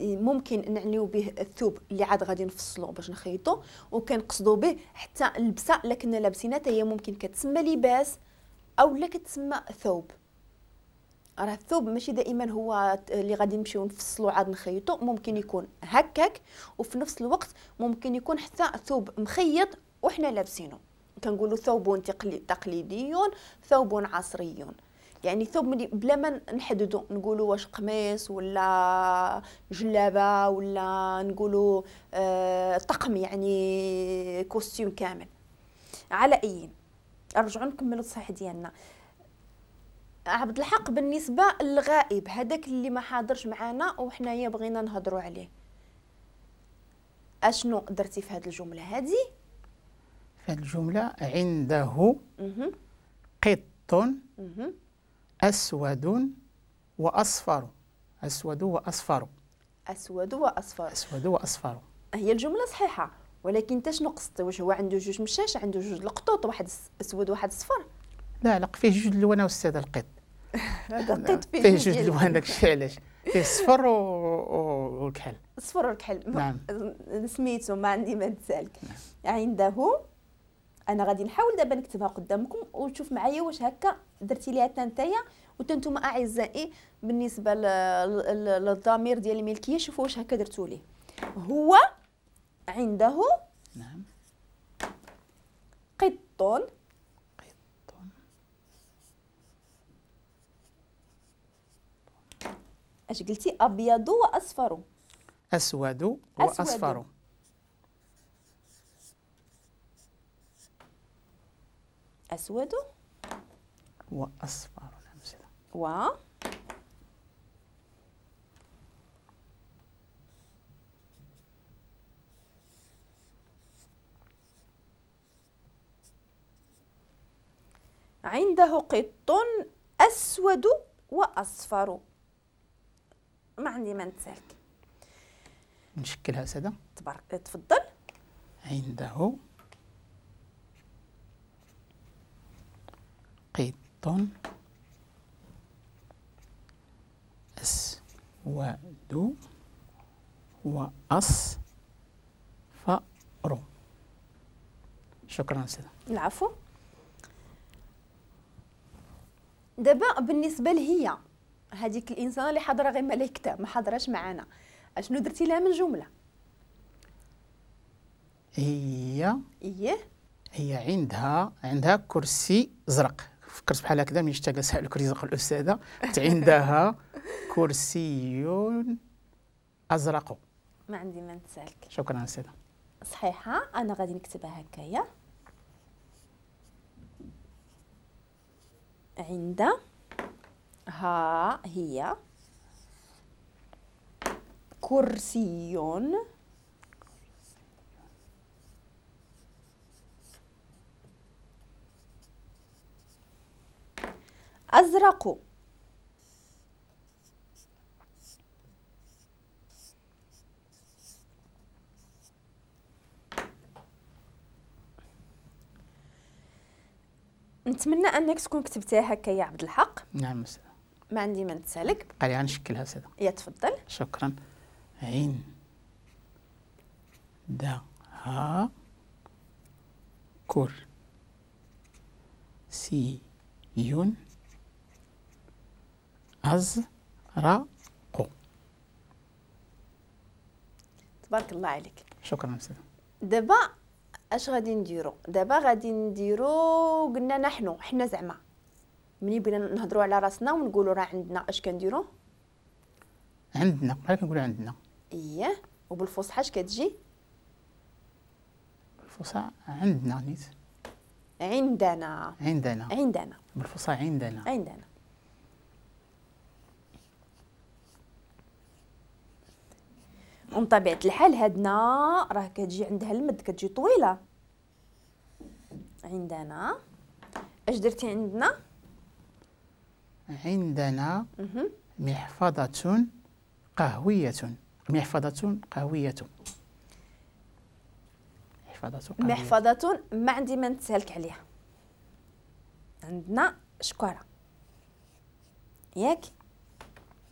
ممكن نعنيو به الثوب اللي عاد غادي نفصلو باش نخيطو، وكنقصدو به حتى اللبسه اللي كنا لابسينها حتى هي ممكن كتسمى لباس او لا كتسمى ثوب. راه الثوب ماشي دائما هو اللي غادي نمشيو نفصلو عاد نخيطو، ممكن يكون هكاك، وفي نفس الوقت ممكن يكون حتى ثوب مخيط وحنا لابسينه. كنقولوا ثوب تقليدي، ثوب عصري، يعني ثوب بلا ما نحددو نقولوا واش قميص ولا جلابه ولا نقولوا طقم، يعني costume كامل. على اي نرجعوا نكملوا التصحيح ديالنا. عبد الحق، بالنسبة للغائب هذاك اللي ما حاضرش معنا وحنايا بغينا نهضروا عليه، اشنو درتي في هذه الجملة هذه؟ في هذه الجملة عنده قط أسود وأصفر. أسود وأصفر. أسود وأصفر. أسود وأصفر. هي الجملة صحيحة، ولكن انت شنو قصدتي؟ واش هو عنده جوج مشاش، عنده جوج القطوط، واحد أسود وواحد صفر؟ لا لا، فيه جوج الوان أستاذ القط. هذا القط فيه جوج الوان، داكشي علاش فيه الصفر والكحل. الصفر والكحل. نعم. سميتو ما عندي ما نتسالك. نعم. عنده، انا غادي نحاول دابا نكتبها قدامكم وتشوف معايا واش هكا درتي ليها حتى نتايا وانتم اعزائي بالنسبة للضمير ديال الملكية، شوفوا واش هكا درتو ليه. هو عنده نعم قط قط اش قلتي؟ ابيض واصفر. اسود واصفر. أسود وأصفر. و عنده قط أسود وأصفر. ما عندي ما نتسالك. نشكلها سادة. تبارك، تفضل. عنده قط أسود وأصفر. شكرا سيدة. العفو. دابا بالنسبة لهي هذيك الإنسانة اللي حاضرة غير ملائكتها ما حاضراش معانا، اشنو درتي لها من جملة؟ هي إيه هي عندها كرسي زرق. فكرت بحال هكذا ملي شتا جالسة على الكرسي الزرق الاستاذة، عندها كرسي ازرق. ما عندي ما نتسالك. شكرا استاذه. صحيحه، انا غادي نكتبها هكايا. عند ها هي كرسي أزرق. نتمنى انك تكون كتبتيها هكا يا عبد الحق. نعم أستاذ. ما عندي ما نتسالك. بقى لي غنشكلها أستاذ. يا تفضل. شكرا. عين دا ها كر سي يون أزرق. تبارك الله عليك. شكرا أستاذ. دابا اش غادي نديرو؟ دابا غادي نديرو، قلنا نحن حنا زعما ملي بغينا نهضروا على راسنا ونقولوا راه عندنا، اش كنديرو؟ عندنا، بحال كنقولوا عندنا. اييه، وبالفصحى اش كتجي؟ بالفصحى عندنا نيت. عندنا. عندنا. عندنا. بالفصحى عندنا. عندنا. ومن طبيعة الحال هادنا راه كتجي عندها المد، كتجي طويلة. عندنا اش درتي عندنا؟ عندنا محفظة قهوية. محفظة قهوية. محفظة قهوية. محفظة ما عندي ما نتسالك عليها. عندنا شكارة ياك؟